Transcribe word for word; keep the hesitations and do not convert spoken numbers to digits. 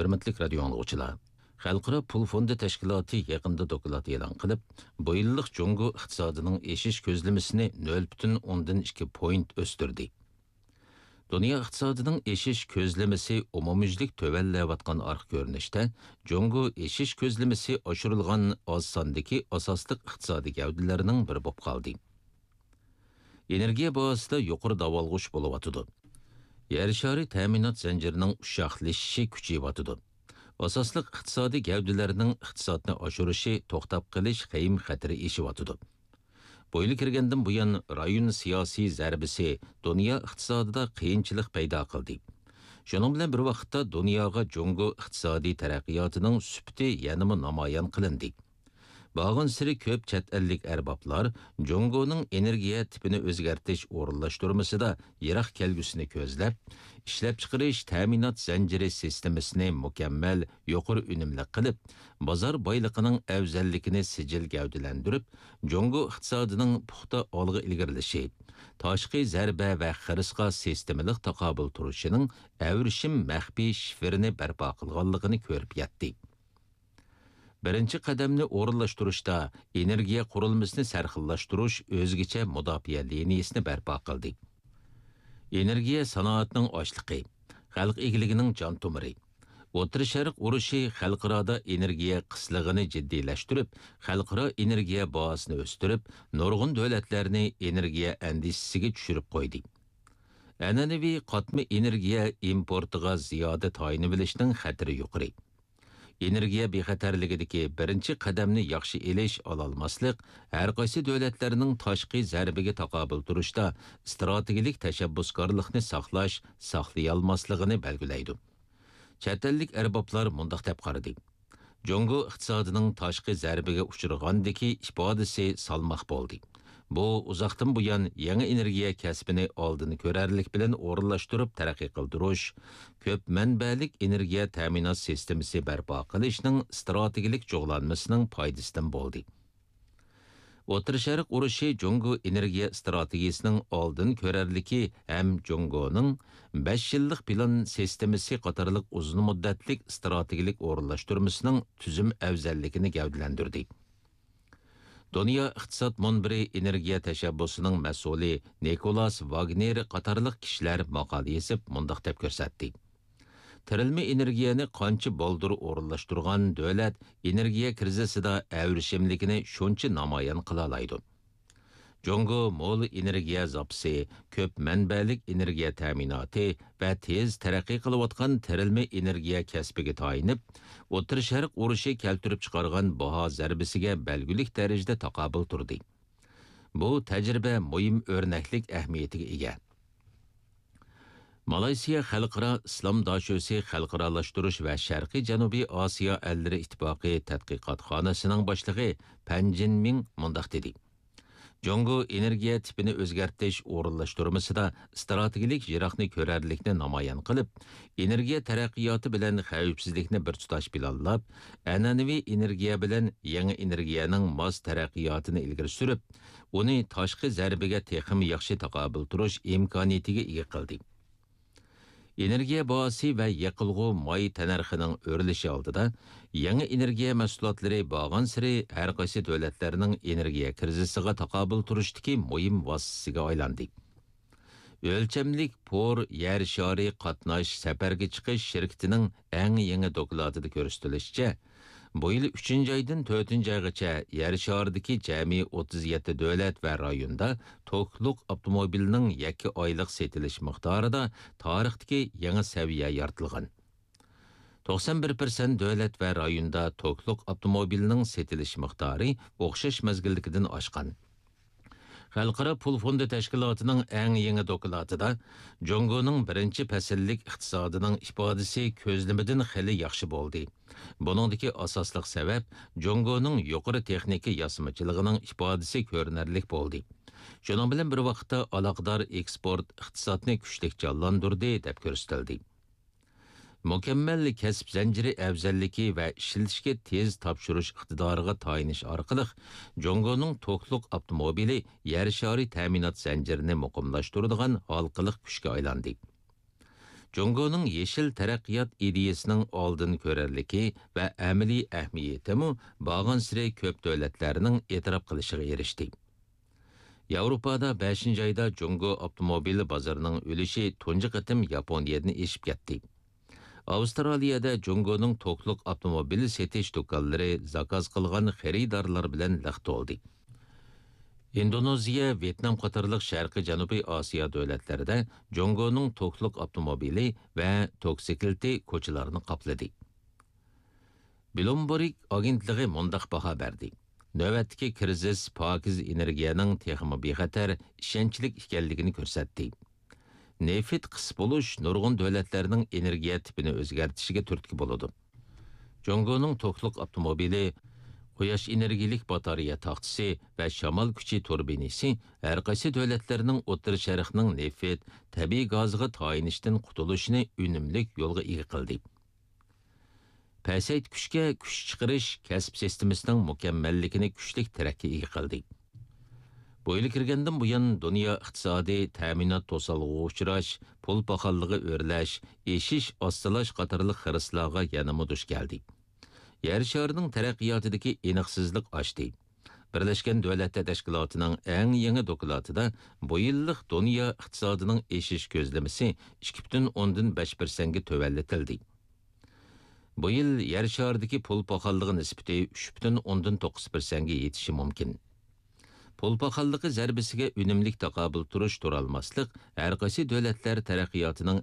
ھۆرمەتلىك رادىيو ئاڭلىغۇچىلار! خەلقئارا پۇل فوندى تەشكىلاتى يېقىندا دوكلات ئېلان قىلىپ، بۇ يىللىق جۇڭگو ئىقتىسادىنىڭ ئېشىش كۆزلىمىسىنى نۆل پۈتۈن ئوندىن ئىككى پوينت ئۆستۈردى. دۇنيا ئىقتىسادىنىڭ ئېشىش كۆزلىمىسى ئومۇميۈزلۈك تۆۋەنلەۋاتقان ئارقا كۆرۈنۈشتە، جۇڭگو ئېشىش كۆزلىمىسى ئاشۇرۇلغان ئاز ساندىكى ئاساسلىق ئىقتىسادىي گەۋدىلەرنىڭ بىرى بولۇپ قالدى. ئېنېرگىيە باھاسىدا يۇقىرى داۋالغۇش بولۇۋاتىدۇ. يەر شارى تەمىنات زەنجىرىنىڭ ئۇششاقلىشىشى كۈچىيىۋاتىدۇ. ئاساسلىق ئىقتىسادىي گەۋدىلەرنىڭ ئىقتىسادنى ئاشۇرۇشى توختاپ قېلىش خېيىم خەتىرى ئېشىۋاتىدۇ. بۇ يىل كىرگەندىن بۇيان، رايون سىياسىي زەربىسى دۇنيا ئىقتىسادىدا قىيىنچىلىق پەيدا قىلدى. شۇنىڭ بىلەن بىر ۋاقىتتا، دۇنياغا جۇڭگو ئىقتىسادىي تەرەققىياتىنىڭ سۈپىتى يەنىمۇ نامايان قىلىندى. بارغانسېرى كۆپ چەت ئەللىك ئەربابلار جۇڭگونىڭ ئېنېرگىيە تىپىنى ئۆزگەرتىش ئورۇنلاشتۇرمىسىدا يىراق كەلگۈسىنى كۆزلەپ، ئىشلەپچىقىرىش تەمىنات زەنجىرى سىستېمىسىنى مۇكەممەل، يۇقىرى ئۈنۈملۈك قىلىپ، بازار بايلىقىنىڭ ئەۋزەللىكىنى سىجىل گەۋدىلەندۈرۈپ، جۇڭگو ئىقتىسادىنىڭ پۇختا ئالغا ئىلگىرىلىشى، تاشقى زەربە ۋە خىرىسقا سىستېمىلىق تاقابىل تۇرۇشىنىڭ ئەۋرىشىم مەخپىي شىفىرىنى بەرپا قىلغانلىقىنى كۆرۈپ يەتتى. بىرىنچى قەدەمنى ئورۇنلاشتۇرۇشتا ئېنېرگىيە قۇرۇلمىسىنى سەرخىللاشتۇرۇش ئۆزگىچە مۇداپىئە لىنىيىسىنى بەرپا قىلدى. ئېنېرگىيە سانائەتنىڭ ئاشلىقى، خەلق ئىگىلىكىنىڭ جان تومۇرى. ئوتتۇرا شەرق ئۇرۇشى خەلقئارادا ئېنېرگىيە قىسلىقىنى جىددىيلەشتۈرۈپ، خەلقئارا ئېنېرگىيە باھاسىنى ئۆستۈرۈپ، نۇرغۇن دۆلەتلەرنى ئېنېرگىيە ئەندىشىسىگە چۈشۈرۈپ قويدى. ئەنئەنىۋى قاتما ئېنېرگىيە ئىمپورتىغا زىيادە تايىنىۋېلىشنىڭ خەتىرى يۇقىرى. ئېنېرگىيە بىخەتەرلىكىدىكى بىرىنچى قەدەمنى ياخشى ئېلىش، ئالالماسلىق ھەر قايسى دۆلەتلەرنىڭ تاشقى زەربىگە تاقابىل تۇرۇشتا ئىستراتېگىيەلىك تەشەببۇسكارلىقنى ساقلاش، ساقلىيالماسلىقىنى بەلگىلەيدۇ. چەت ئەللىك ئەربابلار مۇنداق دەپ قارىدى: جۇڭگو ئىقتىسادىنىڭ تاشقى زەربىگە ئۇچرىغاندىكى ئىپادىسى سالماق بولدى. بۇ ئۇزاقتىن بۇيان يېڭى ئېنېرگىيە كەسپىنى ئالدىن كۆرەرلىك بىلەن ئورۇنلاشتۇرۇپ تەرەققىي قىلدۇرۇش، كۆپ مەنبەلىك ئېنېرگىيە تەمىنات سىستېمىسى بەرپا قىلىشنىڭ ئىستراتېگىيەلىك جۇغلانمىسىنىڭ پايدىسىدىن بولدى. ئوتتۇرا شەرق ئۇرۇشى جۇڭگو ئېنېرگىيە ئىستراتېگىيىسىنىڭ ئالدىن كۆرەرلىكى ھەم جۇڭگونىڭ بەش يىللىق پىلان سىستېمىسى قاتارلىق ئۇزۇن مۇددەتلىك ئىستراتېگىيەلىك ئورۇنلاشتۇرمىسىنىڭ تۈزۈم ئەۋزەللىكىنى گەۋدىلەندۈردى. دۇنيا ئىقتىساد مۇنبىرى ئېنېرگىيە تەشەببۇسىنىڭ مەسئۇلى نىكولاس ۋاگنېر قاتارلىق كىشىلەر ماقالە يېزىپ، مۇنداق دەپ كۆرسەتتى: تىرىلمە ئېنېرگىيەنى قانچە بالدۇر ئورۇنلاشتۇرغان دۆلەت ئېنېرگىيە كىرىزىسىدا ئەۋرىشىملىكىنى شۇنچە نامايان قىلالايدۇ. جۇڭگو مول ئېنېرگىيە زاپىسى، كۆپ مەنبەلىك ئېنېرگىيە تەمىناتى ۋە تېز تەرەققىي قىلىۋاتقان تىرىلمە ئېنېرگىيە كەسپىگە تايىنىپ، ئوتتۇرا شەرق ئۇرۇشى كەلتۈرۈپ چىقارغان باھا زەربىسىگە بەلگىلىك دەرىجىدە تاقابىل تۇردى. بۇ تەجرىبە مۇھىم ئۆرنەكلىك ئەھمىيىتىگە ئىگە. مالايسىيا خەلقئارا ئىسلام داشۆسى خەلقئارالاشتۇرۇش ۋە شەرقىي جەنۇبىي ئاسىيا ئەللىرى ئىتتىپاقى تەتقىقاتخانىسىنىڭ باشلىقى پەن جىنمىڭ مۇنداق دېدى: جۇڭگو ئېنېرگىيە تىپىنى ئۆزگەرتىش ئورۇنلاشتۇرمىسىدا ئىستراتېگىيەلىك يىراقنى كۆرەرلىكنى نامايان قىلىپ، ئېنېرگىيە تەرەققىياتى بىلەن خەۋپسىزلىكنى بىر تۇتاش پىلانلاپ، ئەنئەنىۋى ئېنېرگىيە بىلەن يېڭى ئېنېرگىيەنىڭ ماس تەرەققىياتىنى ئىلگىرى سۈرۈپ، ئۇنى تاشقى زەربىگە تېخىمۇ ياخشى تاقابىل تۇرۇش ئىمكانىيىتىگە ئىگە قىلدى. ئېنېرگىيە باھاسى ۋە يېقىلغۇ ماي تەننەرخىنىڭ ئۆرلىشى ئالدىدا، يېڭى ئېنېرگىيە مەھسۇلاتلىرى بارغانسېرى ھەر قايسى دۆلەتلەرنىڭ ئېنېرگىيە كىرىزىسىغا تاقابىل تۇرۇشتىكى مۇھىم ۋاسىتىسىگە ئايلاندى. ئۆلچەملىك پور يەر شارى قاتناش سەپەرگە چىقىش شىركىتىنىڭ ئەڭ يېڭى دوكلاتىدا كۆرسىتىلىشىچە، بۇ يىل ئۈچىنچى ئايدىن تۆتىنچى ئايغىچە يەر شارىدىكى جەمئىي ئوتتۇز يەتتە دۆلەت ۋە رايوندا توكلۇق ئاپتوموبىلنىڭ يەككە ئايلىق سېتىلىش مىقدارىدا تارىختىكى يېڭى سەۋىيە يارىتىلغان. توقسان بىر پىرسەنت دۆلەت ۋە رايوندا توكلۇق ئاپتوموبىلنىڭ سېتىلىش مىقدارى ئوخشاش مەزگىلدىكىدىن ئاشقان. خەلقئارا پۇل فوندى تەشكىلاتىنىڭ ئەڭ يېڭى دوكلاتىدا، جۇڭگونىڭ بىرىنچى پەسىللىك ئىقتىسادىنىڭ ئىپادىسى كۆزلىمىدىن خېلى ياخشى بولدى. بۇنىڭدىكى ئاساسلىق سەۋەب جۇڭگونىڭ يۇقىرى تېخنىكا ياسىمىچىلىقىنىڭ ئىپادىسى كۆرۈنەرلىك بولدى. شۇنىڭ بىلەن بىر ۋاقىتتا، ئالاقىدار ئېكسپورت ئىقتىسادنى كۈچلۈك جانلاندۇردى، دەپ كۆرسىتىلدى. مۇكەممەل كەسىپ زەنجىرى ئەۋزەللىكى ۋە ئىشلىتىشكە تېز تاپشۇرۇش ئىقتىدارىغا تايىنىش ئارقىلىق، جۇڭگونىڭ توكلۇق ئاپتوموبىلى يەر شارى تەمىنات زەنجىرىنى مۇقىملاشتۇرىدىغان ھالقىلىق كۈچكە ئايلاندى. جۇڭگونىڭ يېشىل تەرەققىيات ئىدىيىسىنىڭ ئالدىن كۆرەرلىكى ۋە ئەمەلىي ئەھمىيىتىمۇ بارغانسېرى كۆپ دۆلەتلەرنىڭ ئېتىراپ قىلىشىغا ئېرىشتى. ياۋروپادا بەشىنچى ئايدا جۇڭگو ئاپتوموبىل بازىرىنىڭ ئۈلۈشى تۇنجى قېتىم ياپونىيەدىن ئېشىپ كەتتى. ئاۋسترالىيەدە جۇڭگونىڭ توكلۇق ئاپتوموبىل سېتىش دۇكانلىرى زاكاز قىلغان خېرىدارلار بىلەن لىق تولدى. ئىندونېزىيە، ۋيېتنام قاتارلىق شەرقىي جەنۇبىي ئاسىيا دۆلەتلىرىدە جۇڭگونىڭ توكلۇق ئاپتوموبىلى ۋە توكسىكلىتى كوچىلارنى قاپلىدى. بلومبېرگ ئاگېنتلىقى مۇنداق باھا بەردى: نۆۋەتتىكى كىرىزىس پاكىز ئېنېرگىيەنىڭ تېخىمۇ بىخەتەر، ئىشەنچلىك ئىكەنلىكىنى كۆرسەتتى. نېفىت قىس بولۇش نۇرغۇن دۆلەتلەرنىڭ ئېنېرگىيە تىپىنى ئۆزگەرتىشىگە تۈرتكە بولىدۇ. جۇڭگونىڭ توكلۇق ئاپتوموبىلى، قۇياش ئېنېرگىيەلىك باتارېيە تاختىسى ۋە شامال كۈچى تۇربىنىسى ھەر قايسى دۆلەتلەرنىڭ ئوتتۇرا شەرقنىڭ نېفىت، تەبىئىي گازىغا تايىنىشتىن قۇتۇلۇشىنى ئۈنۈملۈك يولغا ئىگە قىلدى. پەسەيتكۈچكە كۈچ چىقىرىش كەسىپ سىستېمىسىنىڭ مۇكەممەللىكىنى كۈچلۈك تىرەككە ئىگە قىلدى. بۇ يىل كىرگەندىن بۇيان، دۇنيا ئىقتىسادى تەمىنات توسالغۇغا ئۇچراش، پۇل پاخاللىقى ئۆرلەش، ئېشىش ئاستىلاش قاتارلىق خىرىسلارغا يەنىمۇ دۇچ كەلدى. يەر شارىنىڭ تەرەققىياتىدىكى ئېنىقسىزلىق ئاشتى. بىرلەشكەن دۆلەتلەر تەشكىلاتىنىڭ ئەڭ يېڭى دوكلاتىدا بۇ يىللىق دۇنيا ئىقتىسادىنىڭ ئېشىش كۆزلىمىسى ئىككى پۈتۈن ئوندىن بەش پىرسەنتكە تۆۋەنلىتىلدى. بۇ يىل يەر شارىدىكى پۇل پاخاللىقى نىسبىتى ئۈچ پۈتۈن ئوندىن توققۇز پىرسەنتكە يېتىشى مۇمكىن. پۇل پاخاللىقى زەربىسىگە ئۈنۈملۈك تاقابىل تۇرۇش تۇرالماسلىق ھەر قايسى دۆلەتلەر تەرەققىياتىنىڭ